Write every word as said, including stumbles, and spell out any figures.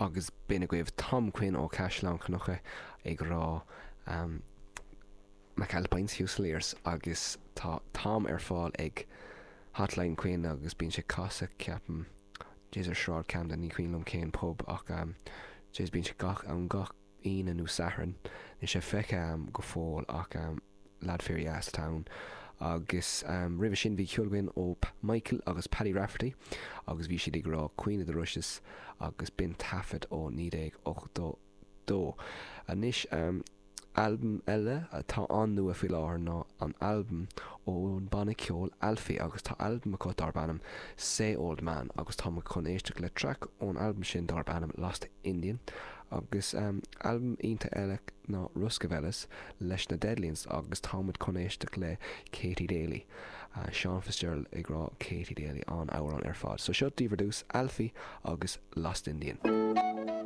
Agus b'in agaibh Tom Quinn ó Caisleán Cnucha ag rá um, McAlpine's Fusiliers agus tá Tom ar fáil ag Hotline Quinn agus bíonn sé casadh ceapaim Jés ar Sráid Camden ní cuimhin liom cén pub ach um, Jés bíonn sé gach ann gach Aoine nó Satharn níl sé feicthe agam go fóill ach um, lad fíordheas atá ann agus um, roimhe sin bhí ceol againn ó Michael agus Paddy Rafferty agus bhí siad ag rá Queen of the Rushes agus b'in taifead ó naoi déag ochtó dó. Anois um, albam eile atá an-nua faoi láthair ná an albam ón banna ceoil Alfie agus tá albam acu darb ainm Say Old Man agus tá chun éisteacht le traic ón albam sin darb ainm Lost Indian agus um, albam iontach eile ná Ruskavelis leis na Deadlions agus táimid chun éisteacht le Katie Daly. Uh, Sean Fitzgerald ag rá Katie Daly an amhrán ar fad. So seo daoibh ar dtús Alfie agus Lost Indian.